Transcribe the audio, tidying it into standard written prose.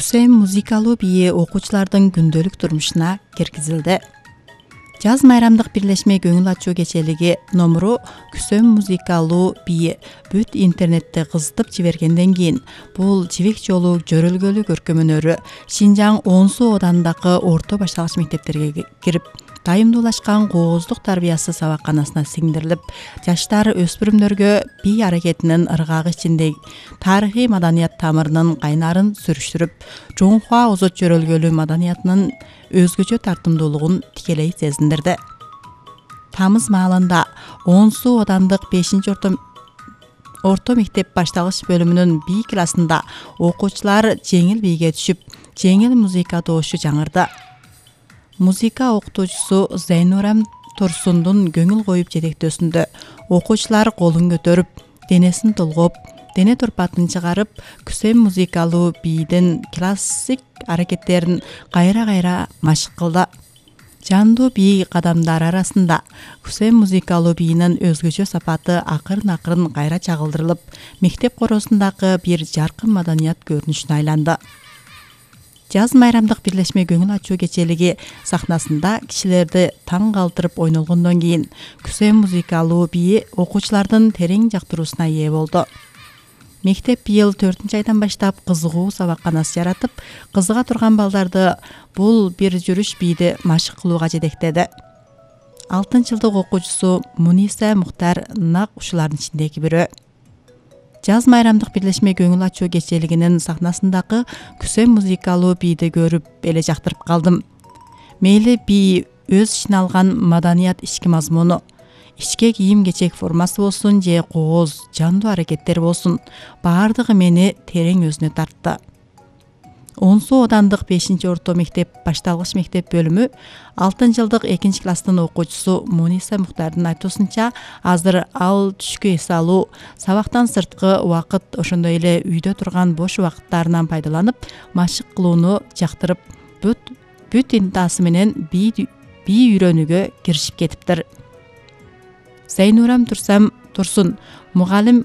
Күсем музыкалуу бийи окуучулардын күндөлүк турмушуна киргизилди. Жаз майрамдык бирлешме көңүл ачуу кечелиги номуру Күсем музыкалуу бийи бүт интернетте кызытып жибергенден кийин бул жибек жолу жөрөлгөлү көркөм өнөрү Шинжаң Оон Суу ауданындагы орто башталгыч мектептерге кирип, дайымдуулашкан кооздук тарбиясы сабакканасына сиңдирилип, жаштар өспүрүмдөргө бий аракетинин ыргагы ичинде тарыхый маданият тамырынын кайнарын сүрүштүрүп, Жоңхуа озот жөрөлгөлү маданиятынын өзгөчө тартымдуулугун тикелей сезиндирди. Тамыз маалында Оон Суу аудандык 5-орто мектеп башталгыч бөлүмүнүн бий классында окуучулар жеңил бийге түшүп, жеңил музыка добушу жаңырды. Музыка окутуучусу Зайнурам Турсундун көңүл коюп жетектөөсүндө окуучулар колун көтөрүп, денесин толгоп, дене турпатын чыгарып, Күсем музыкалуу бийдин классик аракеттерин кайра машык кылды. Жандуу бий кадамдар арасында Күсем музыкалуу бийинин өзгөчө сапаты акырын кайра чагылдырылып, мектеп коросундагы бир жаркын маданият көрүнүшүнө айланды. Жаз майрамдык бирлешме көңүл ачуу кечелиги сахнасында кишилерди таң калтырып ойнолгондон кийин Күсем музыкалуу бийи окуучулардын терең жактыруусуна ээ болду. Мектеп быйыл 4-айдан баштап кызыгуу сабакканасы жаратып, кызыга турган балдарды бул бир жүрүш бийди машык кылууга жетектеди. 6-жылдык окуучусу Муниса Мухтар нак ушулардын ичиндеги бирөө. Жаз майрамдык бирлешме көңүл ачуу кечелигинин сахнасындагы Күсем музыкалуу бийди көрүп эле жактырып калдым. Мейли бий өз ичине алган маданият ички мазмуну, ичке кийим-кечек формасы болсун же кооз, жандуу аракеттер болсун, баардыгы мени терең өзүнө тартты. Оон Суу аудандык 5-орто мектеп башталгыч мектеп бөлүмү 6-жылдык 2-класстын окуучусу Муниса Мухтардын айтуусунча, азыр ал түшкү эс алуу, сабактан сырткы убакыт, ошондой эле үйдө турган бош убакыттарынан пайдаланып, машык кылууну жактырып, бүт интаасы менен бий үйрөнүүгө киришип кетиптир. Зайнурам Турсун мугалим